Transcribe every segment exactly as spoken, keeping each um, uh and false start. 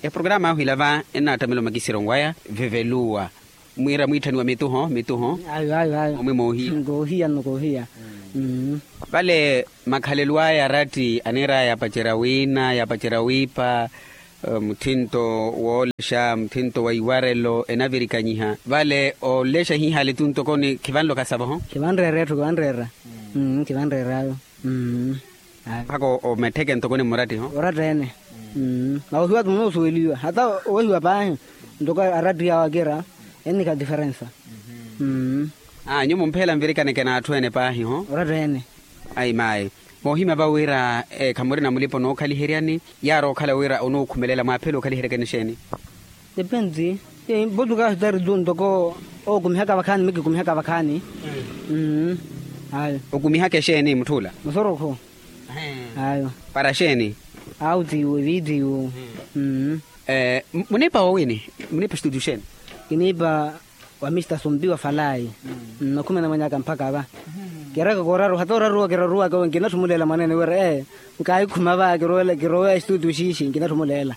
Eprograma ahu ila va ennaattamela omakisiro nwaya veveluwa. Mwiira mwiitthaniwa mituho mituho. Ayo ayo ayo. Omwe moohiya. Nkoohiya nno koohiya. Vale makhalelo aya aratti aniiraya yapacerya wiina yapacerya wiipa. Muthinto woolexa muthinto wa iwarelo enavirikanyiha vale oolexa ehiihali tu ntokoni khivanloka savoho. Khivanreera etthu khivanreera. Khivanreera ayo. Mpakha omettheke ntokoni mmurattiho. Oratta ene. Mawohiwa-tho munoosuweliwa hata owehiwa paahi. Ntoko aratti awo akira ennikha diferensa. Nyuwo mumpheela nvirikaneke n'atthu ene paahi ho. Oratta ene. Ayi maayi. Moohimya va wira khamurina mulipa onookhaliheryani yaari okhala wira onookhumelela mwaaphela okhaliheryakeni exeeni? Depensi. Votuka ahitari tu ntoko ookumihaka vakhaani mikikumihaka vakhaani. Ayo. Okumihaka exeeni mutth'ula? Musorokho. Ayo. Para xeeni? Autiwo evitiwo. Muniipa woowini? Muniipa estudio xeeni? Kiniipa wa mista sumpi wa falayi. Nokhumena mwenyaka mpakha va. Kiraka kooraruwa hata oraruwa kiraruwaka nkinatthu omuleela mwaneene wira ee nkaahikhuma va kiroweya estudio xiixi nkinatthu omuleela.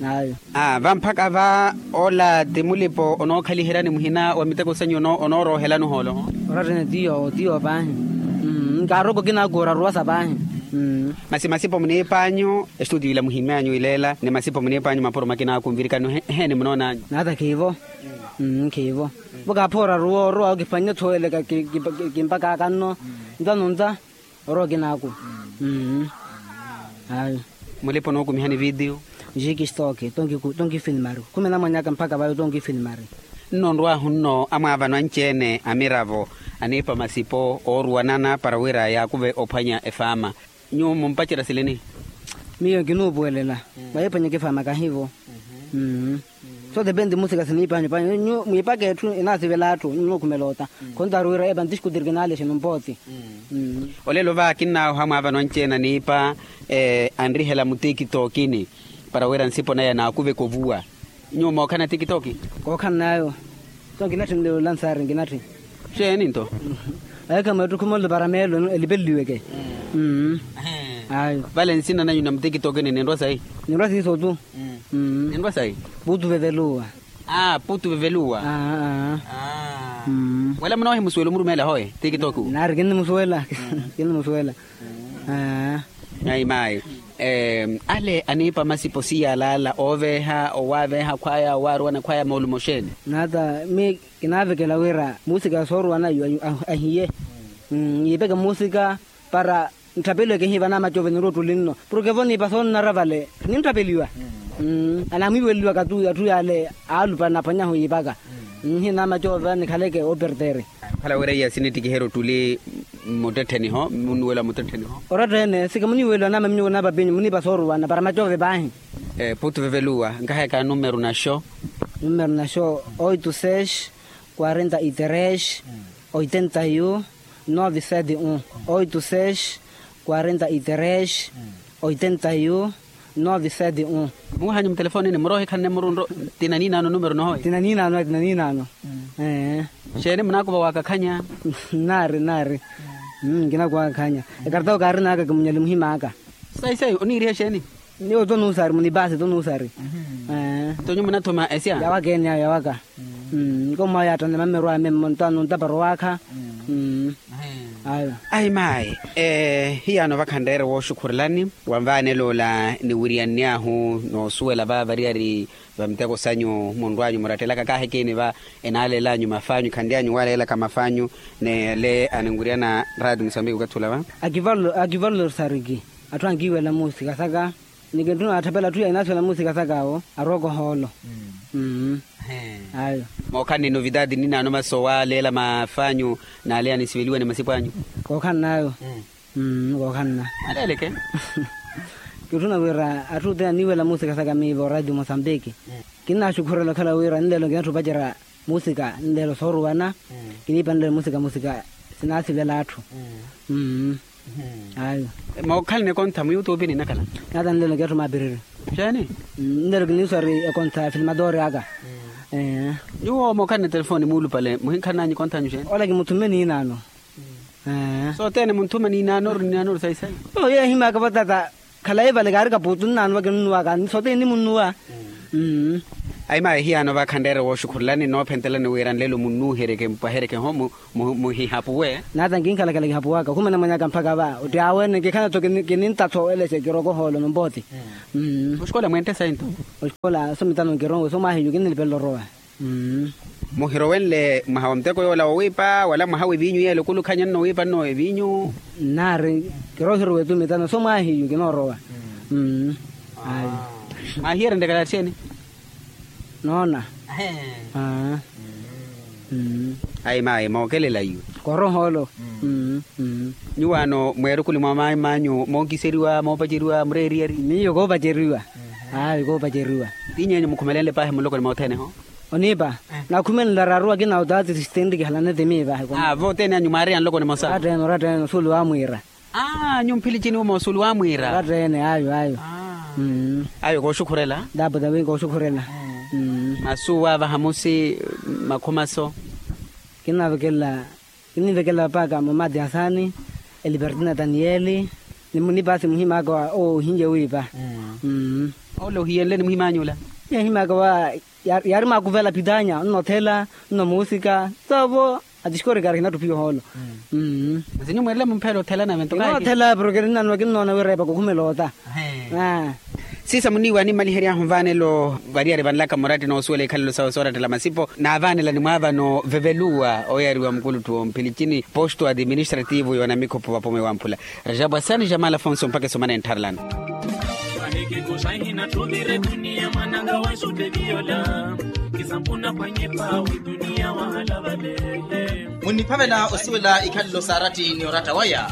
Ayo. Vamphaka va ola ti mulipo onookhaliheryani muhina wa miteko sanyu onooroohelani ohoolo? Orattene ti yoowo ti yoowo paahi. Nkaaroko kinaaku oraruwasa paahi. Masi masipo muniip'anyu estudio ila muhim'anyu ileela ni masipo muniip'anyu mapuro makinaaku nvirikani eheeni munoon'anyu? Nata khiivo. Khiivo. Vo kaaphoora ruwa orowa okiphwannye thooyeleka kimpak'aka nno. Nta nonta. Orowa okinaaku. Ayo. Mulipa onookumihani vitiyo? Jiki stoki tonki finimari khumena mwanyaka mpakha vayo tonki finimari. Nno onrw'ahu nno amwaavano anci-ene amiravo aniipa masipo ooruwanana para wira yaakuve ophwanya efaama. Nyuwo mumpacerya silini? Miyo nkinuupuwelela. Mwahiphwanya ekifaama kahivo. So depende musika siniipanyu panyu nyu mwiipaka etthu enaasivela atthu nyu munookhumela ota. Khontaari wira epantiskutiriki naalexe numpooti. Olelo va kinnaaho amwaavano anci-ene aniipa anrihela mutikitokini para wira nsipo naya naakuveka ovuwa. Nyuwo mookhala na tikitoki? Kookhala nayo. Nto nkinatthi nlelo lansari nkinatthi. Xeeni nto? Ayekha mweettukhu monlo para meelo elipeleliweke. Ayo. Vale nsina nanyu na mutikitokini ninrwa sayi? Ninrwa siiso tu. Ninrwa sayi? Putu veveluwa. Aa putu veveluwa. Wela munoohimusuwela omurumeela hoye tikitoki? Nari kinnimusuwela. Kinnimusuwela. Ayi maayi. Ale aniipa masipo siyalaala ooveeha owaaveeha khwaya owaaruwana khwaya moolumo xeeni? Nata mi kinaavekela wira muusika sooruwana ahiye. Yiipeke muusika para ntthapeliweke ehiiva n'amacove ninrowa ottuli nno. Porke vo niipa soonnara vale ninttapeliwa. Anaamwiiweleliwaka tu atthu yaale aalupa naphwanyahu yiipaka. Nhina macova nikhaleke opertere. Khala wira iya sinittikiherya ottuli mmuttettheni-ho munnuwela mmuttettheni-ho. Oratta ene sika muniiweliwa naama minyuko naapapinyu muniipa sooruwana para macove paahi. Putu veveluwa nkahayaka numeru naxo. Numeru naxo oito seis quarenta e três oitenta e um nove sete um. Oito seis quarenta e três oitenta e um nove sete um. Muhanyu mutelefonini muroohikhanne murunro. Tina niinaano numero nohoyi? Tina niinaano tina niinaano. Xeeni munaakuva waakakhanya? Nnaari nnaari. Nkinakuwa waakakhanya. Ekartau kaarin'aka kimunyali muhim'aka. Sayi sayi oniiriha xeeni? Niwo tonuusari munipaasi tonuusari. Nto nyuwo munathuma esya? Yawaka ene ayo yawaka. Nkommwayo yaattanne mammeru ame mmontano ntapara owaakha. Ayo. Ayi maayi. Hiyaano vakhanreere wooxukhurelani wanvaanela ola niwiriyannyahu noosuwela va variyari va miteko sanyu munrw'anyu murattelaka kaahikini va. Enaaleel'anyu maf'anyu khanry'anyu waaleelaka maf'anyu n'ele aninwiriyana raati musambiki okathi ula va. Akivalosariki atthu ankiiwela muusika saka. Ni kintthuna atthapela atthu ya inaasuwela muusika saka awo arwaka ohoolo. Ayo. Mookhala ni novitaati ninaano masi owaaleela maf'anyu n'ale anisiveliwa ni masipo anyu? Kookhala n'ayo. Kookhala na. Aleeleke. Kintthuna wira atthu othene aniiwela muusika saka miivo radio mosambiki. Kinnaaxukhurela okhala wira nleelo nkinatthu opacerya muusika nleelo sooruwana. Kiniipa nleelo muusika muusika sinaasivela atthu. Ayo. Mookhalana ekontha muyutupi ninakhala? Nata nleelo nkiyatthu maapiriri. Xeeni? Nleelo kiniiswari ekontha ya filmadori aka. Nyuwo mookhalana etelefoni muulupale muhinkhalananyu ekonthanyu xeeni? Ola kimuthumeni inaano. Sothene munthuma niinaanoru niinaanoru sayi sayi. Yeehimaka vatata. Khalayi vale kaari kapuutu nnaanwa kinunnuwaka ni sote nimunnuwa. Ayi mayi hiyaano vakhanreere wooxukhurelani noophentelani wira nlelo munnuuhereke mpwahereke ho muhihapuwe. Naata nkinkhalakhala kihapuwaka khumene mwenyaka mpakha va otti awe ni kikhana tho kininta tho elese kiroko hoolo nompooti. Oxikola mwente sayi nto? Oxikola somitano nkironwe somwahiyu kinnilipelelo orowa. Muhirowenle mwaha wa muteko yoola wowiipa wala mwaha w'eviinyu yeela okulukhanyanno wiipa nno eviinyu? Nnaari kirohirowa etumitano so mwaahiyu kinoorowa. Ayi. Mwaahiyerenrye kalathi ene? Noona. Ayi mayi mookelela iwe. Korohoolo. Nyuwaano mweerukuli mwa mayi manyu monkiseriwa moopaceriwa mureeriyeri? Miyo koopaceriwa. Ayi koopaceriwa. Ti nyeenyu mukhumelenle paahi mulokoni mothene ho? Oniipa. Nakhumelela raaruwa kina otaati sistenri kihalanete miipa. Aa vootene anyu mwaariya nlokoni mosa? Oratta ene oratta ene osuulu waamwiira. Aa nyumphili cini uma osuulu waamwiira? Oratta ene ayo ayo. Ayo kooxukhurela? Tapo tawi kooxukhurela. Masu waavaha musi makhumaso? Kinnavekelela kinnivekelela paaka mumati asani, elipertina tanieli, ni munipaasi muhimaka wa owo ohinye wiipa. Ole ohiyenle ni muhimanyula? Muhimaka wa yaari maakuvela pitanya nnothela nnomuusika. Soovo atixikori kaari kinattuphiwa ohoolo. Masi nyumweerela mumphela othela nave nto kayi? Kinoothela porke ninnanwa kinnoona wira epaka okhumela ota. Siisa muniiwa animalihery'ahu nvaanelo variyari vanlaka muratti noosuwela ikhalelo sawe soorattela masipo naavaanela nimwaavano veveluwa oyariwa mukulutthu womphilichini posto administrativo yoonamikhupu vapomeyi wamphula. Rajabwasani jamala fonso mpakha esomana enttharelano. Vahikikuxahi natthuvire duniya mwananga wa sutteviyola kisampuna phwanyepa wi duniya wahalavale. Munniphavela osuwela ikhalelo saaratti ni oratta waya.